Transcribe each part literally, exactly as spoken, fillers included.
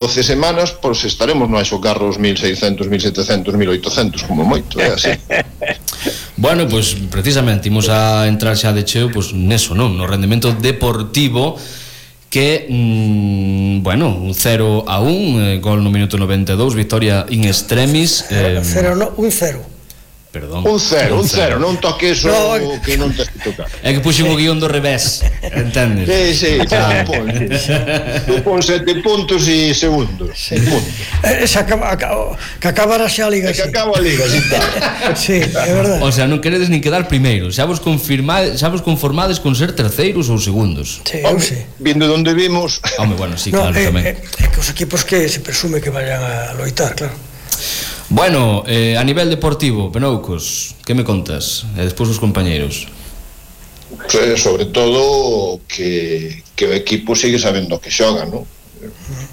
doce semanas, pois estaremos no a xogar os mil seiscentos, mil setecentos, mil oitocentos como moito, é así. Bueno, pois precisamente imos a entrar xa de cheo pois neso, non? No rendemento deportivo que, mmm, bueno, un cero a un, eh, gol no minuto noventa e dous, victoria in extremis. Eh, cero, no, un cero. Perdón. Un cero, un cero, non toques o no, que non te que tocar. É que puxen o guión do revés, entendes? Sí, sí, xa pon. Tú pon sete puntos e segundos. Sí. Eh, xa acaba, acaba, que acabara xa a liga. Que acaba a liga, sí, sí, é verdade. O sea, non queredes nin quedar primeiros, xa vos confirmades, xa vos conformades con ser terceiros ou segundos. Sí, eu sí. Vindo de onde vimos. Home, bueno, sí, no, claro, eh, tamén. É eh, eh, que os equipos que se presume que vayan a loitar, claro. Bueno, eh, a nivel deportivo, Penoucos, que me contas? E despois os compañeiros. Sí, sobre todo que, que o equipo sigue sabendo que xoga, non?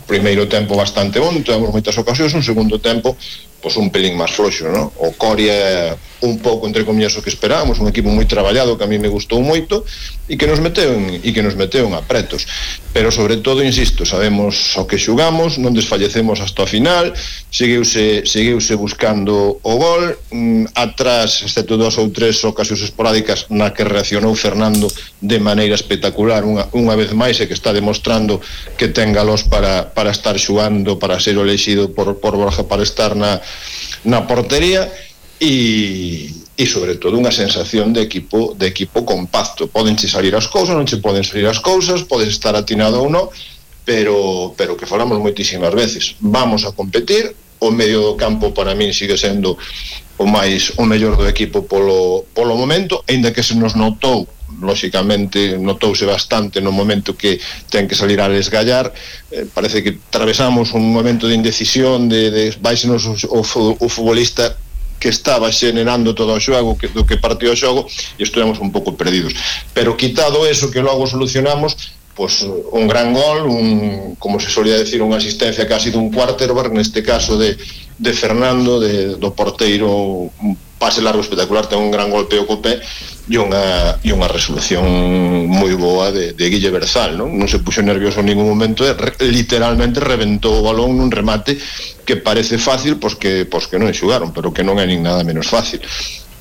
Primeiro tempo bastante bon, temos moitas ocasións, un segundo tempo pois un pelín máis floxo, non? O Coria un pouco entre comillas o que esperábamos, un equipo moi traballado que a mí me gustou moito e que nos meteu en, e que nos meteu en apretos, pero sobre todo, insisto, sabemos o que xugamos, non desfallecemos hasta o final, seguiuse, seguiuse buscando o gol, mm, atrás, excepto dos ou tres ocasións esporádicas na que reaccionou Fernando de maneira espectacular unha, unha vez máis, e que está demostrando que ten galos para, para estar xugando, para ser elexido por, por Borja para estar na, na portería. E, e sobre todo unha sensación de equipo de equipo compacto. Podenche salir as cousas, non che poden salir as cousas, podes estar atinado ou non, pero pero que falamos moitísimas veces, vamos a competir. O medio do campo para min sigue sendo o máis o mellor do equipo polo polo momento, aínda que se nos notou, lóxicamente notouse bastante no momento que ten que salir a desgallar. Eh, parece que atravesamos un momento de indecisión, de, de baixenos o, o, o futbolista que estaba xenerando todo o xogo, que, do que partió o xogo, e estivemos un pouco perdidos. Pero quitado eso, que logo solucionamos, pues un gran gol, un, como se solía decir, unha asistencia casi dun quarterback, neste caso de, de Fernando, de, do porteiro, un pase largo espectacular, ten un gran golpeo co pé, e unha, e unha resolución moi boa de, de Guille Berzal, non? Non se puxo nervioso en ningún momento, e re, literalmente reventou o balón nun remate que parece fácil, pois que, pois que non xugaron, pero que non é nin nada menos fácil.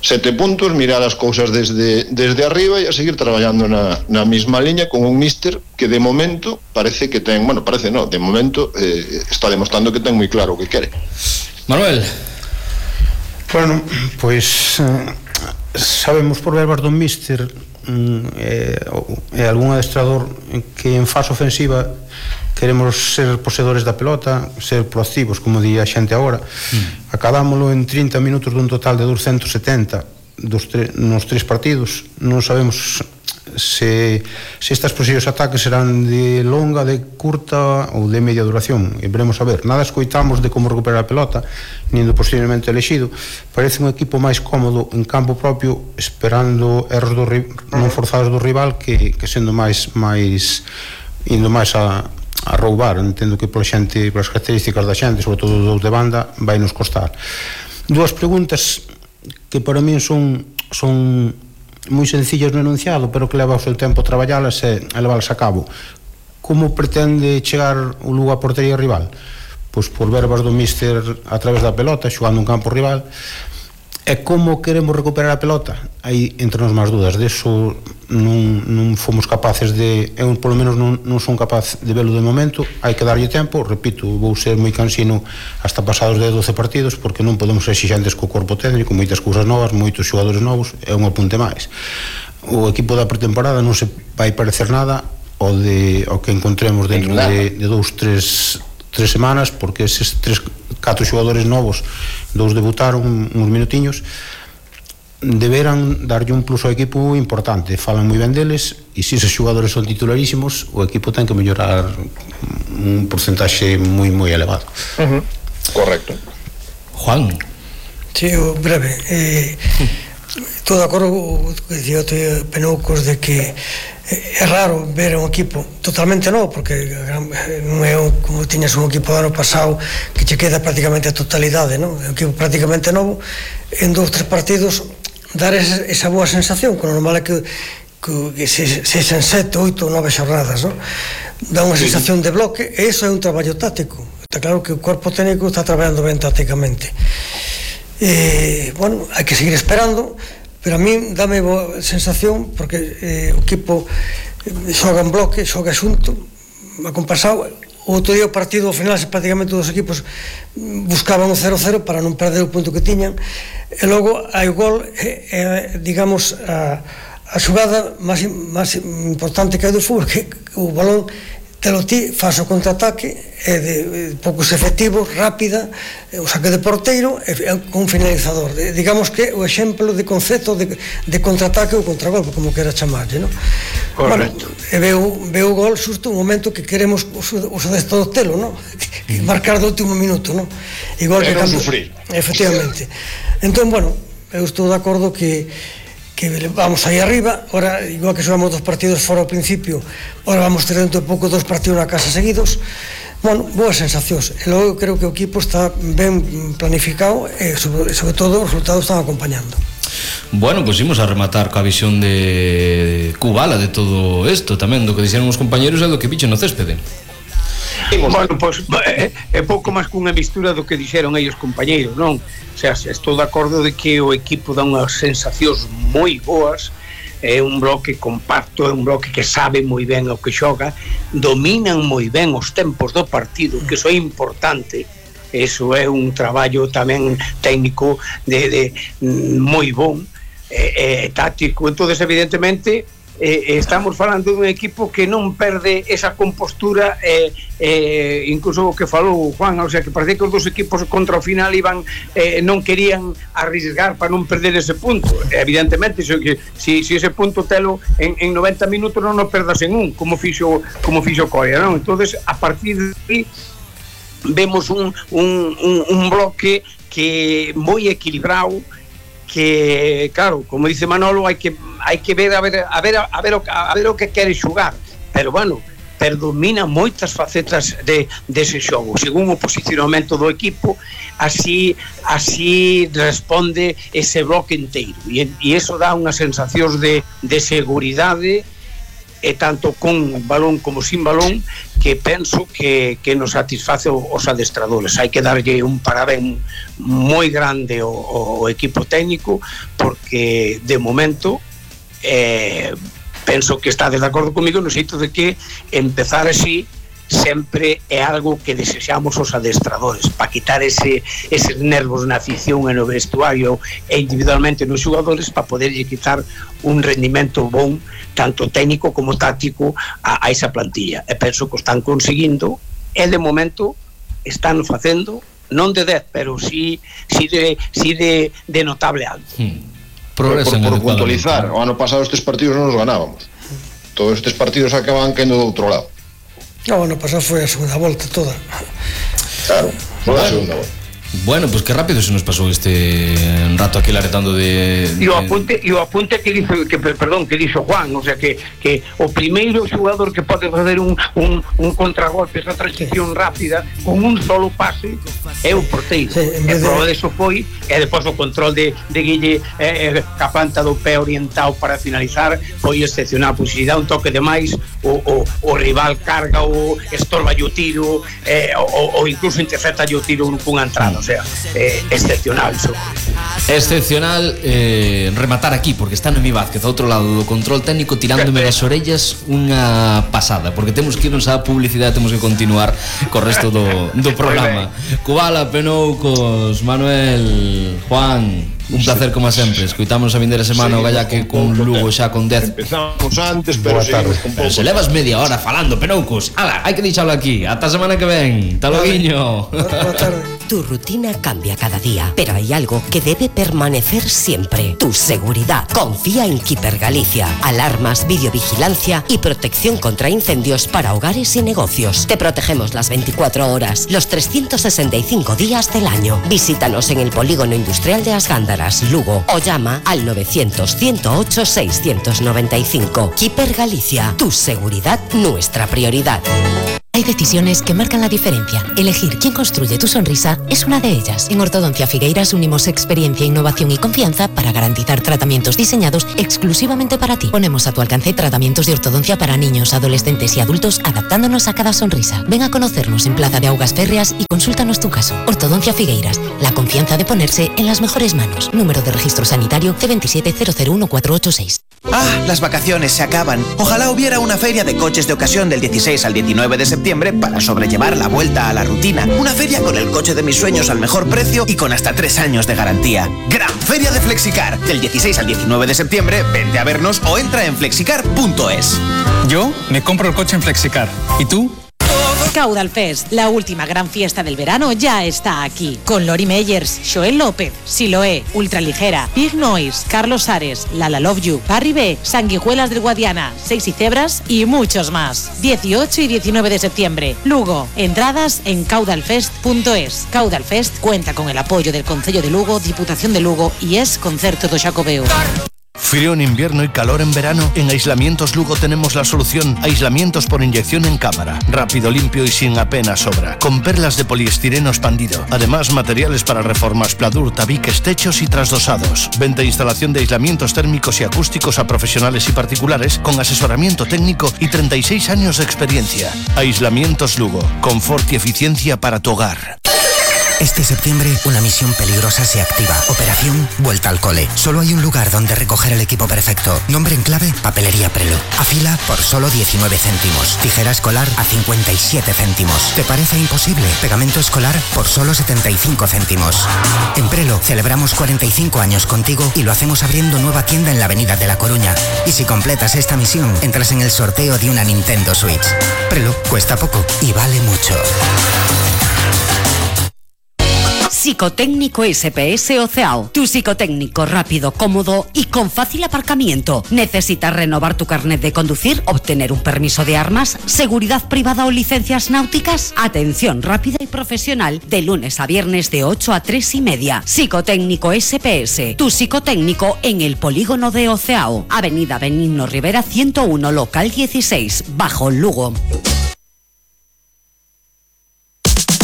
Sete puntos, mirar as cousas desde, desde arriba e a seguir traballando na, na mesma liña con un míster que de momento parece que ten, bueno, parece non, de momento eh, está demostrando que ten moi claro o que quere. Manuel. Bueno, pois eh, sabemos por verbas do míster e eh, eh, algún adestrador que en fase ofensiva queremos ser poseedores da pelota, ser proactivos, como di a xente agora. Mm. Acabámoslo en trinta minutos dun total de doscientos setenta dos tre nos tres partidos. Non sabemos se, se estas posibles ataques serán de longa, de curta ou de media duración, e veremos a ver. Nada escoitamos de como recuperar a pelota, nin do posiblemente elexido. Parece un equipo máis cómodo en campo propio, esperando erros do, non forzados do rival, que, que sendo máis máis indo máis a, a roubar. Entendo que pola xente, polas características da xente, sobre todo dos de banda, vai nos costar. Dúas preguntas que para min son son moi sencillas no enunciado, pero que leva o seu tempo a traballalas e a levalas a cabo. Como pretende chegar o Lugo a portería rival? Pois por verbas do míster a través da pelota, xogando un campo rival. E como queremos recuperar a pelota? Aí entre nos máis dudas, deso non, non fomos capaces de, eu polo menos non, non son capaz de velo de momento. Hai que darlle tempo, repito, vou ser moi cansino hasta pasados de doce partidos, porque non podemos ser exixentes co corpo técnico, moitas cousas novas, moitos xogadores novos, é un apunte máis. O equipo da pretemporada non se vai parecer nada ao, de, ao que encontremos dentro de, de dous, tres, tres semanas, porque eses tres, catro xogadores novos, dous debutaron uns minutiños, deberan darlle un plus ao equipo importante. Falan moi ben deles, e se esos xogadores son titularísimos, o equipo ten que mellorar un porcentaxe moi moi elevado. Uh-huh. Correcto. Juan. Sí, breve. Eh, todo de acordo que dicía o Penoucos de que é raro ver un equipo totalmente novo, porque non é un, como tiñas un equipo do ano pasado que che queda prácticamente a totalidade, non? É un equipo prácticamente novo, en dous, tres partidos dar esa, esa boa sensación, que o normal é que, que, que se, se sen sete, oito ou nove xornadas, non? Dá unha sensación de bloque, e iso é un traballo táctico. está claro que o corpo técnico está traballando ben tácticamente. Eh, bueno, hai que seguir esperando, pero a mí dame boa sensación porque eh, o equipo xoga en bloque, xoga xunto, acompasado. O outro día o partido ao final prácticamente dos equipos buscaban o cero cero para non perder o punto que tiñan, e logo hai o gol, e, e, digamos a, a xugada máis, máis importante que hai do fútbol, que o balón te lo ti, faz o contraataque, é de, de poucos efectivos, rápida, o saque de porteiro e con finalizador. De, digamos que o exemplo de concepto de, de contraataque ou contragolpe, como quera chamarlle, non? Correcto. Bueno, e veo, veo o gol xusto un momento que queremos os, os adestradores telo, non? Marcar do último minuto, non? Igual que non cando, sufrir. Efectivamente. Entón, bueno, eu estou de acordo que que vamos aí arriba, ora, igual que xogamos dos partidos fora ao principio, ora vamos ter dentro de pouco dos partidos na casa seguidos. Bueno, boas sensacións, e logo creo que o equipo está ben planificado e sobre, sobre todo os resultados están acompañando. Bueno, pois pues imos a rematar coa visión de Kubala de todo isto, tamén do que dixeron os compañeros e do que bicho no céspede. Bueno, pois é, é pouco máis cunha mistura do que dixeron aí os compañeiros, non? O sea, estou de acordo de que o equipo dá unhas sensacións moi boas, é un bloque compacto, é un bloque que sabe moi ben o que xoga, dominan moi ben os tempos do partido, que iso é importante. Eso é un traballo tamén técnico de, de moi bon, e, e táctico. Entonces, evidentemente, Eh, estamos falando dun equipo que non perde esa compostura, eh, eh, incluso o que falou Juan, o sea, que parece que os dos equipos contra o final iban, eh, non querían arrisgar para non perder ese punto. Evidentemente, so que, si, si ese punto telo en, en noventa minutos non o perdas en un, como fixo, como fixo Corea, non? Entonces, a partir de aí vemos un, un, un, un bloque que moi equilibrado, que, claro, como dice Manolo, hai que hai que ver a ver a ver a ver o, a ver o que quere xogar, pero bueno, predomina moitas facetas de dese xogo, según o posicionamento do equipo, así así responde ese bloque inteiro, e, e eso dá unha sensación de, de seguridade, e tanto con balón como sin balón, que penso que, que nos satisface os adestradores. Hai que darlle un parabén moi grande ao, ao equipo técnico, porque de momento eh, penso que está de acordo comigo no xeito de que empezar así sempre é algo que desexamos os adestradores, para quitar ese, eses nervos na afición e no vestuario e individualmente nos xogadores, para poderlle quitar un rendimento bon, tanto técnico como táctico, a, a esa plantilla. E penso que o están conseguindo, e de momento están facendo, non de dez, pero sí, sí, de, sí de, de notable alto. Hmm. Por, por, por puntualizar, o ano pasado estes partidos non os ganábamos. Todos estes partidos acaban caendo do outro lado. No, ano pasado foi a segunda volta toda. Claro, foi a segunda volta. Bueno, pues que rápido se nos pasou este rato aquí laretando de... E o apunte, e o apunte que dixo, que, perdón, que dixo Juan, o sea, que, que o primeiro xogador que pode fazer un, un, un contragolpe, esa transición rápida, con un solo pase, é o porteiro. Sí, e a prova de eso foi, e depois o control de, de Guille, eh, a planta do pé orientado para finalizar, foi excepcional, pois se dá un toque de máis, o, o, o rival carga, o estorba o tiro, eh, o, o incluso intercepta o tiro cunha entrada. O sea, eh, excepcional eso. Excepcional eh, rematar aquí, porque está Noemí Vázquez ao outro lado do control técnico tirándome das orellas unha pasada, porque temos que irnos á publicidade, temos que continuar co resto do, do programa. Kubala, Penoucos, Manuel, Juan, un placer como sempre. Escoitamos a vindeira semana o Gallaque con Lugo xa con dez. Empezamos antes, pero seguimos con pouco. Pero se levas media hora falando, Penoucos. Ala, hai que deixalo aquí. Ata a semana que ven. Hasta loguiño. Boa tarde. Tu rutina cambia cada día, pero hay algo que debe permanecer siempre: tu seguridad. Confía en Keeper Galicia. Alarmas, videovigilancia y protección contra incendios para hogares y negocios. Te protegemos las veinticuatro horas, los trescientos sesenta y cinco días del año. Visítanos en el Polígono Industrial de Asgándaras, Lugo, o llama al novecientos, ciento ocho, seiscientos noventa y cinco. Keeper Galicia. Tu seguridad, nuestra prioridad. Hay decisiones que marcan la diferencia. Elegir quién construye tu sonrisa es una de ellas. En Ortodoncia Figueiras unimos experiencia, innovación y confianza para garantizar tratamientos diseñados exclusivamente para ti. Ponemos a tu alcance tratamientos de ortodoncia para niños, adolescentes y adultos, adaptándonos a cada sonrisa. Ven a conocernos en Plaza de Augas Férreas y consúltanos tu caso. Ortodoncia Figueiras, la confianza de ponerse en las mejores manos. Número de registro sanitario C veintisiete cero cero uno cuatro ocho seis. Ah, las vacaciones se acaban. Ojalá hubiera una feria de coches de ocasión del dieciséis al diecinueve de septiembre para sobrellevar la vuelta a la rutina. Una feria con el coche de mis sueños al mejor precio y con hasta tres años de garantía. Gran Feria de Flexicar. Del dieciséis al diecinueve de septiembre, vente a vernos o entra en flexicar punto es. Yo me compro el coche en Flexicar. ¿Y tú? Caudal Fest, la última gran fiesta del verano, ya está aquí. Con Lori Meyers, Joel López, Siloé, Ultraligera, Big Noise, Carlos Ares, Lala Love You, Parry B, Sanguijuelas del Guadiana, Sexy Cebras y muchos más. dieciocho y diecinueve de septiembre, Lugo. Entradas en caudal fest punto es. Caudal Fest cuenta con el apoyo del Concello de Lugo, Diputación de Lugo y es Concerto do Xacobeo. Frío en invierno y calor en verano. En Aislamientos Lugo tenemos la solución. Aislamientos por inyección en cámara. Rápido, limpio y sin apenas sobra. Con perlas de poliestireno expandido. Además, materiales para reformas, pladur, tabiques, techos y trasdosados. Venta e instalación de aislamientos térmicos y acústicos a profesionales y particulares con asesoramiento técnico y treinta y seis años de experiencia. Aislamientos Lugo. Confort y eficiencia para tu hogar. Este septiembre, una misión peligrosa se activa. Operación Vuelta al Cole. Solo hay un lugar donde recoger el equipo perfecto. Nombre en clave, Papelería Prelo. Afila por solo diecinueve céntimos. Tijera escolar a cincuenta y siete céntimos. ¿Te parece imposible? Pegamento escolar por solo setenta y cinco céntimos. En Prelo celebramos cuarenta y cinco años contigo y lo hacemos abriendo nueva tienda en la Avenida de La Coruña. Y si completas esta misión, entras en el sorteo de una Nintendo Switch. Prelo cuesta poco y vale mucho. Psicotécnico S P S Oceao. Tu psicotécnico rápido, cómodo y con fácil aparcamiento. ¿Necesitas renovar tu carnet de conducir? ¿Obtener un permiso de armas? ¿Seguridad privada o licencias náuticas? Atención rápida y profesional de lunes a viernes de ocho a tres y media. Psicotécnico S P S. Tu psicotécnico en el polígono de Oceao. Avenida Benigno Rivera ciento uno, local dieciséis, Bajo Lugo.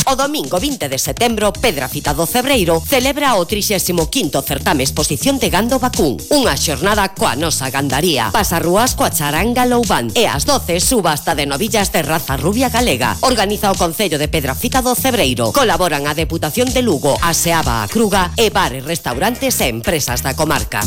O domingo vinte de setembro, Pedrafita do Cebreiro celebra o trixésimo quinto certame exposición de gando vacún. Unha xornada coa nosa gandaría. Pasarrúas coa charanga Loubán. E ás doce, subasta de novillas de raza rubia galega. Organiza o Concello de Pedrafita do Cebreiro. Colaboran a Deputación de Lugo, a Seaba a Cruga e bares, restaurantes e empresas da comarca.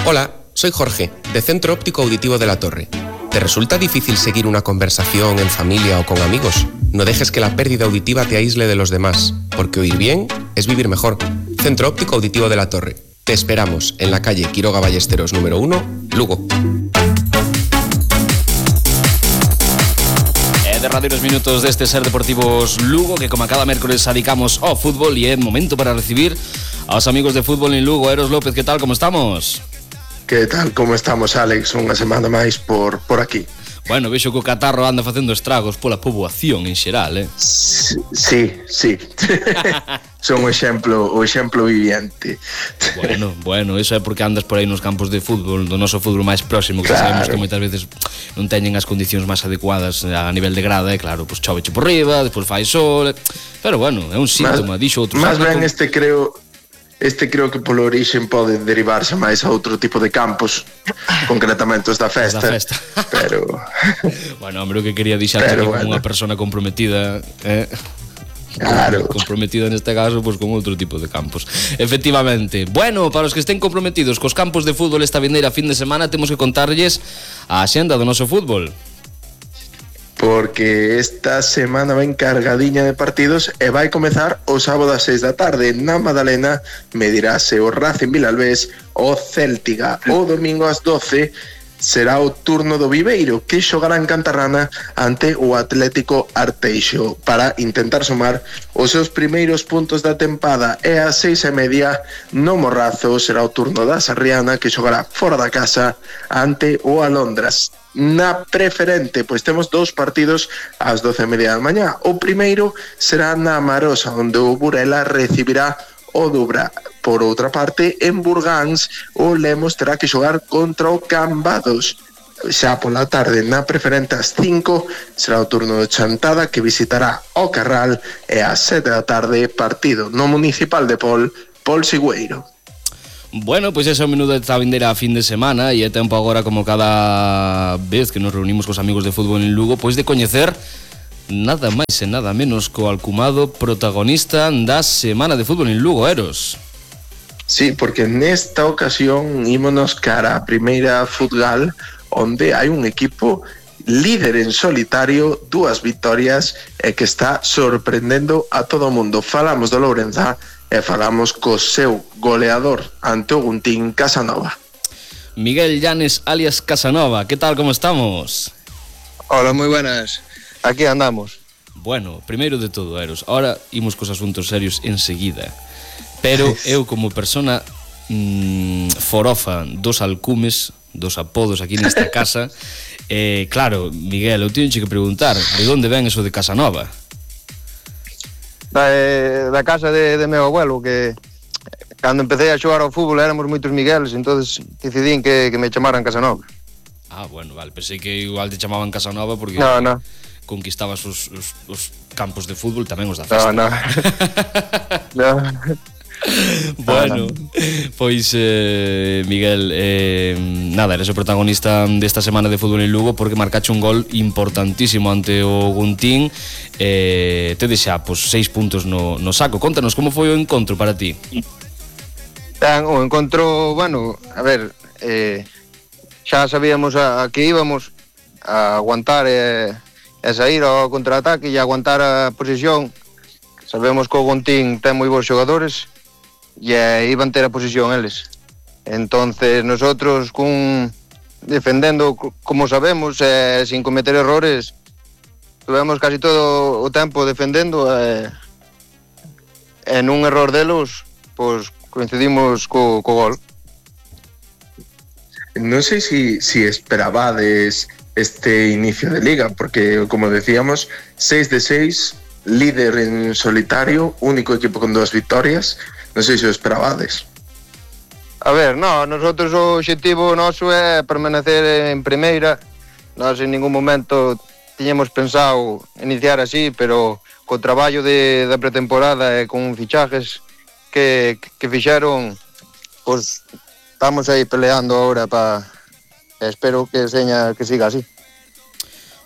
Hola, soy Jorge, de Centro Óptico Auditivo de la Torre. ¿Te resulta difícil seguir una conversación en familia o con amigos? No dejes que la pérdida auditiva te aísle de los demás, porque oír bien es vivir mejor. Centro Óptico Auditivo de la Torre. Te esperamos en la calle Quiroga Ballesteros número uno, Lugo. E derradeiros minutos deste Ser Deportivos Lugo, que como a cada mércoles adicamos ao fútbol, e é momento para recibir aos amigos de Fútbol en Lugo. Eros López, que tal, como estamos? Que tal, como estamos, Alex? Unha semana máis por, por aquí. Bueno, vexo que o catarro anda facendo estragos pola poboación en xeral, eh? Sí, sí. Son o exemplo, o exemplo viviente. Bueno, bueno, eso é porque andas por aí nos campos de fútbol, do noso fútbol máis próximo, que claro, sabemos que moitas veces non teñen as condicións máis adecuadas a nivel de grada, e claro, pois choveche por riba, despois fai sol, pero bueno, é un síntoma, dixo outro. Más ben este creo... Este creo que polo orixen pode derivarse máis a outro tipo de campos, concretamente os da festa, da festa. Pero... Bueno, hombre, o que quería dixarte que bueno, como unha persona comprometida, eh? Claro. Comprometida neste caso, pois con outro tipo de campos. Efectivamente. Bueno, para os que estén comprometidos cos campos de fútbol esta vindeira fin de semana, temos que contarlles a axenda do noso fútbol. Porque esta semana va encargadiña de partidos e vai comezar o sábado ás seis da tarde na Madalena. Medirase o Racing Vilalbés o Céltiga. O domingo ás doce será o turno do Viveiro, que xogará en Cantarrana ante o Atlético Arteixo para intentar sumar os seus primeiros puntos da tempada. E ás seis e media no Morrazo será o turno da Sarriana, que xogará fora da casa ante o Alondras. Na preferente, pois temos dous partidos ás doce e media da mañá. O primeiro será na Marosa, onde o Burela recibirá o Dubra. Por outra parte, en Burgáns, o Lemos terá que xogar contra o Cambados. xa pola tarde na preferente ás cinco será o turno de Chantada, que visitará o Carral, e ás sete da tarde partido no Municipal de Pol, Pol Sigüeiro. Bueno, pois ese é o menú desta vindeira a fin de semana, e é tempo agora, como cada vez que nos reunimos cos amigos de fútbol en Lugo, pois de coñecer nada máis e nada menos co alcumado protagonista da semana de fútbol en Lugo, Eros. Sí, porque nesta ocasión ímonos cara a primeira Futgal, onde hai un equipo líder en solitario, dúas vitorias, e que está sorprendendo a todo o mundo. Falamos do Lourenza e falamos co seu goleador ante o Guntín, Casanova. Miguel Llanes alias Casanova, ¿qué tal, cómo estamos? Hola, moi buenas. Aquí andamos. Bueno, primeiro de todo, Eros, ahora imos cos asuntos serios enseguida. Pero eu, como persona mmm, forofa dos alcumes, dos apodos aquí nesta casa, eh, claro, Miguel, eu teño que preguntar, de onde ven eso de Casanova? Da, eh, da casa de, de meu abuelo, que cando empecé a xogar ao fútbol éramos moitos Migueles, entonces decidín que, que me chamaran Casanova. Ah, bueno, vale, pensei que igual te chamaban Casanova porque no, no. conquistabas os, os, os campos de fútbol, tamén os da festa. No, no. No. Bueno, pois eh, Miguel, eh, nada, eres o protagonista desta semana de fútbol en Lugo porque marcache un gol importantísimo ante o Guntín, eh, te deixa pois, seis puntos no, no saco. Contanos como foi o encontro para ti. Ben, o encontro, bueno, a ver, eh, xa sabíamos a, a que íbamos a aguantar e, e sair ao contraataque e aguantar a posición. Sabemos que o Guntín ten moi bons xogadores e eh, iban ter a posición eles. Entonces nosotros cun defendendo como sabemos e eh, sin cometer errores, tuvemos casi todo o tempo defendendo e eh, en un error delos pois coincidimos co, co gol. Non sei si, si esperabades este inicio de liga, porque como decíamos, seis de seis, líder en solitario, único equipo con dúas victorias. Non sei se o esperabades. A ver, no, nosotros o objetivo noso é permanecer en primeira. Nós en ningún momento tiñemos pensado iniciar así, pero co traballo de, da pretemporada e con fichajes que, que fixeron, pois estamos aí peleando agora para, espero que seña que siga así.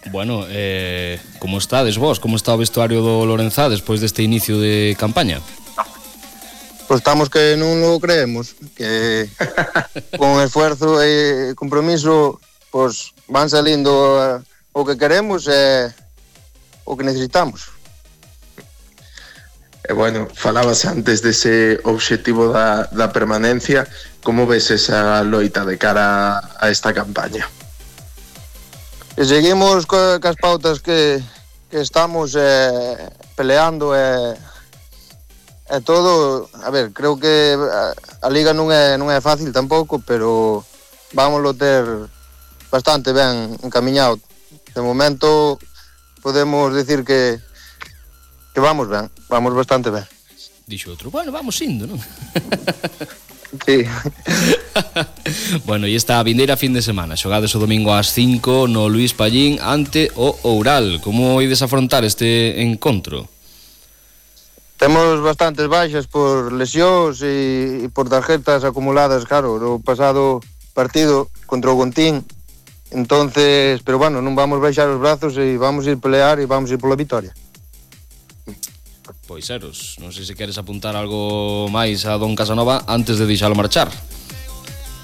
Bueno, eh, como estades vos? Como está o vestuario do Lourenza despois deste inicio de campaña? Pois estamos que non lo creemos, que con esfuerzo e compromiso pois van salindo o que queremos e o que necesitamos. E bueno, falabas antes dese obxectivo da, da permanencia, como ves esa loita de cara a esta campaña? E seguimos co, cas pautas que, que estamos eh, peleando e é todo, a ver, creo que a, a liga non é non é fácil tampouco, pero vámoslo ter bastante ben encamiñado. De momento podemos decir que que vamos ben, vamos bastante ben. Dixo outro, bueno, vamos indo, non? Sí. Bueno, e esta vindeira fin de semana, xogades o domingo ás cinco no Luís Pallín ante o Oural. Como ides afrontar este encontro? Temos bastantes baixas por lesións e, e por tarjetas acumuladas, claro, no pasado partido contra o Guntín. Entonces, pero bueno, non vamos baixar os brazos e vamos ir pelear e vamos ir pola vitoria. Pois Eros, non sei se queres apuntar algo máis a don Casanova antes de deixalo marchar.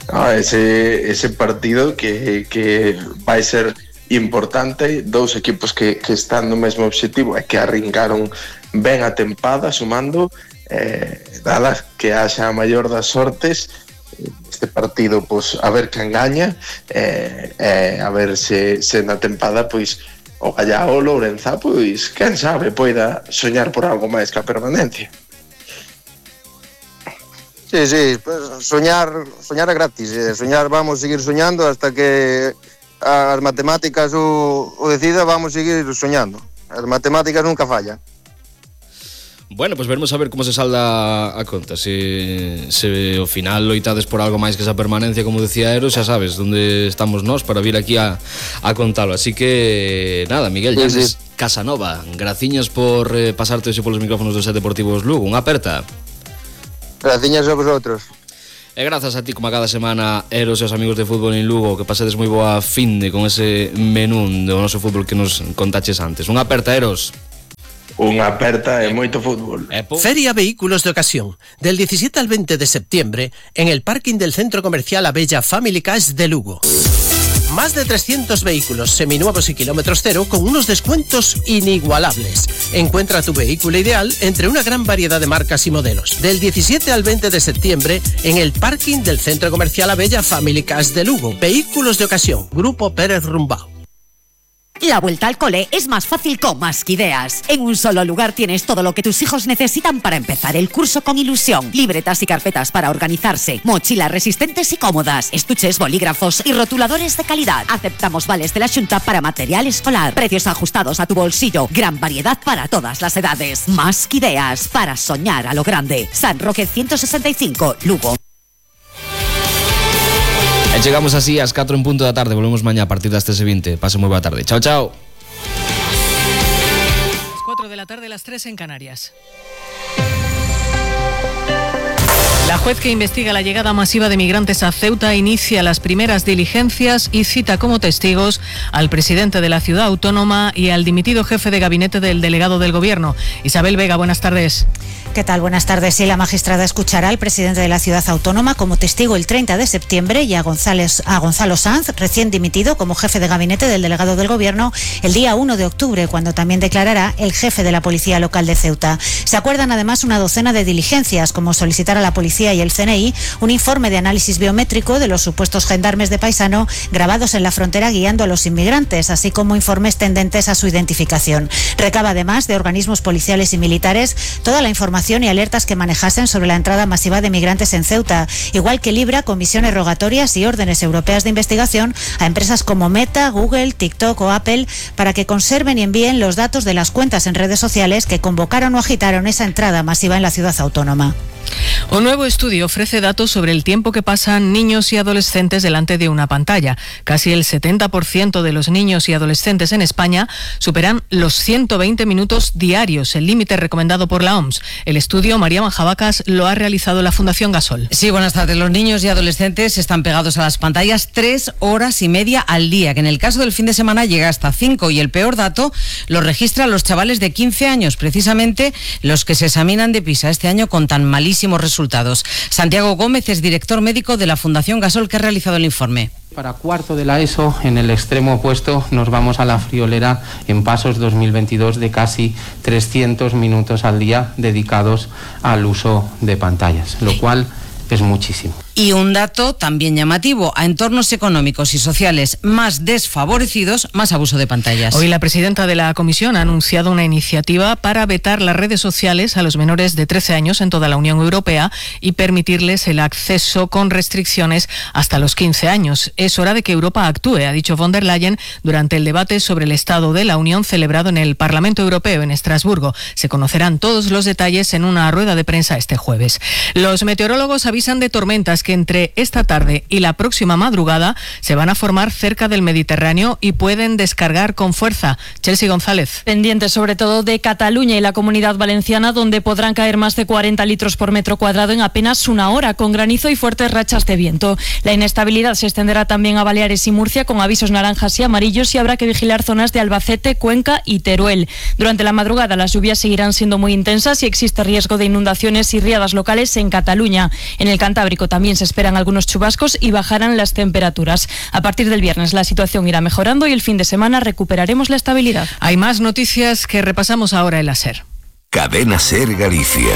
Ah, ese, ese partido que, que vai ser importante, dous equipos que, que están no mesmo obxectivo e que arrincaron ben a tempada sumando, eh, dala que haxa a maior das sortes este partido, pois a ver quen gaña, eh, eh, a ver se, se na tempada pois o Gallá o Lourenza, pois quen sabe, poida soñar por algo máis que a permanencia. Sí, sí, pues soñar, soñar é gratis, eh, soñar vamos seguir soñando hasta que as matemáticas o, o decida, vamos seguir soñando. As matemáticas nunca fallan. Bueno, pues veremos a ver como se salda a conta. Se, se ao final loitades por algo máis que esa permanencia, como decía Eros, xa sabes onde estamos nós para vir aquí a, a contalo. Así que, nada, Miguel Sí, Llanes sí. Casanova, graciñas por eh, pasarte hoxe polos micrófonos dos Set Deportivos Lugo. Unha aperta. Graciñas a vosotros. E grazas a ti, como a cada semana, Eros e os amigos de Fútbol en Lugo, que pasedes moi boa finde con ese menú do noso fútbol que nos contaches antes. Unha aperta, Eros. Unha aperta e moito fútbol. Feria Vehículos de Ocasión, del diecisiete al veinte de septiembre, en el parking del Centro Comercial Abella Family Cars de Lugo. Más de trescientos vehículos seminuevos y kilómetros cero con unos descuentos inigualables. Encuentra tu vehículo ideal entre una gran variedad de marcas y modelos. Del diecisiete al veinte de septiembre, en el parking del Centro Comercial Abella Family Cars de Lugo. Vehículos de Ocasión, Grupo Pérez Rumbao. La vuelta al cole es más fácil con Masquideas. En un solo lugar tienes todo lo que tus hijos necesitan para empezar el curso con ilusión. Libretas y carpetas para organizarse, mochilas resistentes y cómodas, estuches, bolígrafos y rotuladores de calidad. Aceptamos vales de la Xunta para material escolar. Precios ajustados a tu bolsillo. Gran variedad para todas las edades. Masquideas, para soñar a lo grande. San Roque ciento sesenta y cinco, Lugo. E chegamos así ás catro en punto da tarde. Volvemos mañá a partir das tres e vinte. Pase moi boa tarde. Chao, chao. Las cuatro de la tarde, las tres en Canarias. La juez que investiga la llegada masiva de migrantes a Ceuta inicia las primeras diligencias y cita como testigos al presidente de la ciudad autónoma y al dimitido jefe de gabinete del delegado del gobierno. Isabel Vega, buenas tardes. ¿Qué tal? Buenas tardes. Sí, la magistrada escuchará al presidente de la ciudad autónoma como testigo el treinta de septiembre y a, González, a Gonzalo Sanz, recién dimitido como jefe de gabinete del delegado del gobierno, el día uno de octubre, cuando también declarará el jefe de la policía local de Ceuta. Se acuerdan además una docena de diligencias, como solicitar a la policía y el C N I un informe de análisis biométrico de los supuestos gendarmes de Paisano grabados en la frontera guiando a los inmigrantes, así como informes tendentes a su identificación. Recaba además de organismos policiales y militares toda la información y alertas que manejasen sobre la entrada masiva de migrantes en Ceuta, igual que libra comisiones rogatorias y órdenes europeas de investigación a empresas como Meta, Google, TikTok o Apple para que conserven y envíen los datos de las cuentas en redes sociales que convocaron o agitaron esa entrada masiva en la ciudad autónoma. Un nuevo estudio ofrece datos sobre el tiempo que pasan niños y adolescentes delante de una pantalla. Casi el setenta por ciento de los niños y adolescentes en España superan los ciento veinte minutos diarios, el límite recomendado por la O M S. El estudio, María Manjabacas, lo ha realizado la Fundación Gasol. Sí, buenas tardes. Los niños y adolescentes están pegados a las pantallas tres horas y media al día, que en el caso del fin de semana llega hasta cinco, y el peor dato lo registran los chavales de quince años, precisamente los que se examinan de PISA este año con tan malísimos resultados. Santiago Gómez es director médico de la Fundación Gasol, que ha realizado el informe. Para cuarto de la ESO, en el extremo opuesto, nos vamos a la friolera en Pasos dos mil veintidós de casi trescientos minutos al día dedicados al uso de pantallas, lo cual es muchísimo. Y un dato también llamativo: a entornos económicos y sociales más desfavorecidos, más abuso de pantallas. Hoy la presidenta de la Comisión ha anunciado una iniciativa para vetar las redes sociales a los menores de trece años en toda la Unión Europea y permitirles el acceso con restricciones hasta los quince años. Es hora de que Europa actúe, ha dicho von der Leyen durante el debate sobre el Estado de la Unión celebrado en el Parlamento Europeo en Estrasburgo. Se conocerán todos los detalles en una rueda de prensa este jueves. Los meteorólogos avisan de tormentas que entre esta tarde y la próxima madrugada se van a formar cerca del Mediterráneo y pueden descargar con fuerza. Chelsea González. Pendientes sobre todo de Cataluña y la Comunidad Valenciana, donde podrán caer más de cuarenta litros por metro cuadrado en apenas una hora, con granizo y fuertes rachas de viento. La inestabilidad se extenderá también a Baleares y Murcia, con avisos naranjas y amarillos, y habrá que vigilar zonas de Albacete, Cuenca y Teruel. Durante la madrugada las lluvias seguirán siendo muy intensas y existe riesgo de inundaciones y riadas locales en Cataluña. En el Cantábrico también se esperan algunos chubascos y bajarán las temperaturas. A partir del viernes la situación irá mejorando y el fin de semana recuperaremos la estabilidad. Hay más noticias que repasamos ahora en la SER. Cadena SER Galicia.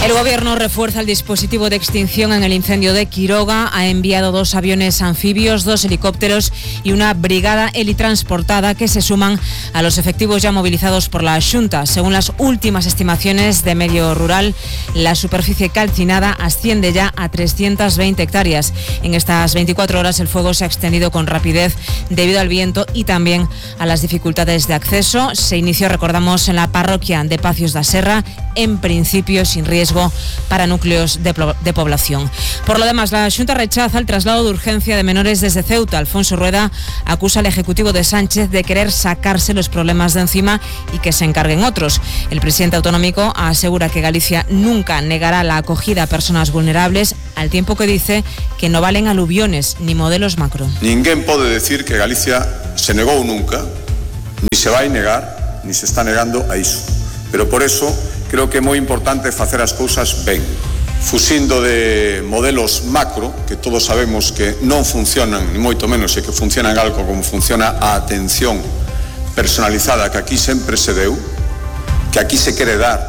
El gobierno refuerza el dispositivo de extinción en el incendio de Quiroga. Ha enviado dos aviones anfibios, dos helicópteros y una brigada helitransportada que se suman a los efectivos ya movilizados por la Xunta. Según las últimas estimaciones de Medio Rural, la superficie calcinada asciende ya a trescientas veinte hectáreas. En estas veinticuatro horas el fuego se ha extendido con rapidez debido al viento y también a las dificultades de acceso. Se inició, recordamos, en la parroquia de Pacios da Serra, en principio sin riesgo para núcleos de, de población. Por lo demás, la Xunta rechaza el traslado de urgencia de menores desde Ceuta. Alfonso Rueda acusa al Ejecutivo de Sánchez de querer sacarse los problemas de encima y que se encarguen otros. El presidente autonómico asegura que Galicia nunca negará la acogida a personas vulnerables, al tiempo que dice que no valen aluviones ni modelos macro. Ninguén pode decir que Galicia se negou nunca, ni se vai negar, ni se está negando a iso. Pero por eso creo que é moi importante facer as cousas ben, fuxindo de modelos macro, que todos sabemos que non funcionan, ni moito menos, e que funcionan algo como funciona a atención personalizada que aquí sempre se deu, que aquí se quere dar,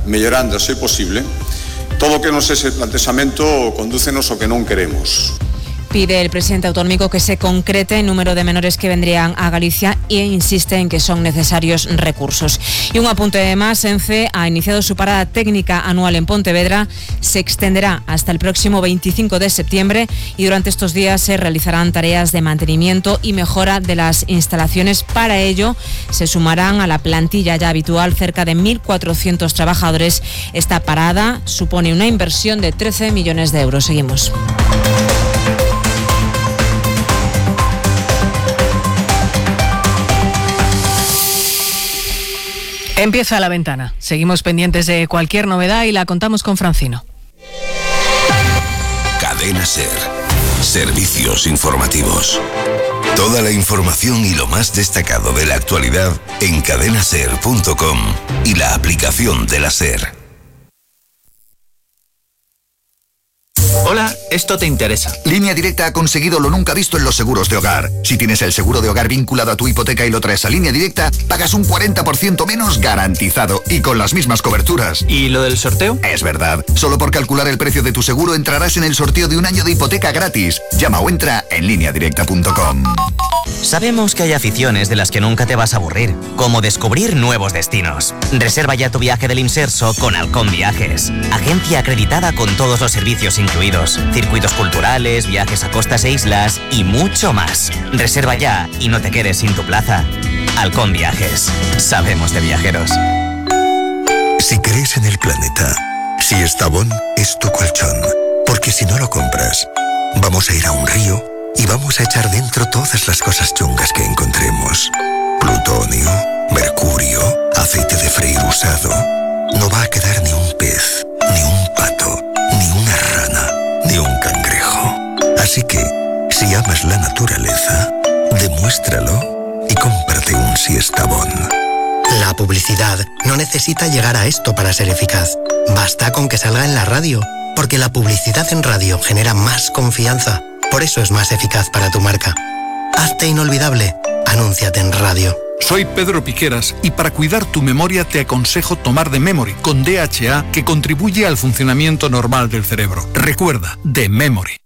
mellorando se posible. Todo o que nos ese planteamento condúcenos ao que non queremos. Pide el presidente autonómico que se concrete el número de menores que vendrían a Galicia e insiste en que son necesarios recursos. Y un apunte más, ENCE ha iniciado su parada técnica anual en Pontevedra. Se extenderá hasta el próximo veinticinco de septiembre y durante estos días se realizarán tareas de mantenimiento y mejora de las instalaciones. Para ello se sumarán a la plantilla ya habitual cerca de mil cuatrocientos trabajadores. Esta parada supone una inversión de trece millones de euros. Seguimos. Empieza la ventana. Seguimos pendientes de cualquier novedad y la contamos con Francino. Cadena SER. Servicios informativos. Toda la información y lo más destacado de la actualidad en cadena ser punto com y la aplicación de la SER. Hola, esto te interesa. Línea Directa ha conseguido lo nunca visto en los seguros de hogar. Si tienes el seguro de hogar vinculado a tu hipoteca y lo traes a Línea Directa, pagas un cuarenta por ciento menos garantizado y con las mismas coberturas. ¿Y lo del sorteo? Es verdad. Solo por calcular el precio de tu seguro entrarás en el sorteo de un año de hipoteca gratis. Llama o entra en línea directa punto com. Sabemos que hay aficiones de las que nunca te vas a aburrir, como descubrir nuevos destinos. Reserva ya tu viaje del Imserso con Halcón Viajes, agencia acreditada con todos los servicios incluidos, circuitos culturales, viajes a costas e islas y mucho más. Reserva ya y no te quedes sin tu plaza. Halcón Viajes, sabemos de viajeros. Si crees en el planeta, si Estabón es tu colchón, porque si no lo compras, vamos a ir a un río y vamos a echar dentro todas las cosas chungas que encontremos. Plutonio, mercurio, aceite de freír usado. No va a quedar ni un pez, ni un pato, ni una rana, ni un cangrejo. Así que, si amas la naturaleza, demuéstralo y cómprate un Siestabón. La publicidad no necesita llegar a esto para ser eficaz. Basta con que salga en la radio, porque la publicidad en radio genera más confianza. Por eso es más eficaz para tu marca. Hazte inolvidable. Anúnciate en radio. Soy Pedro Piqueras y para cuidar tu memoria te aconsejo tomar The Memory con D H A, que contribuye al funcionamiento normal del cerebro. Recuerda, The Memory.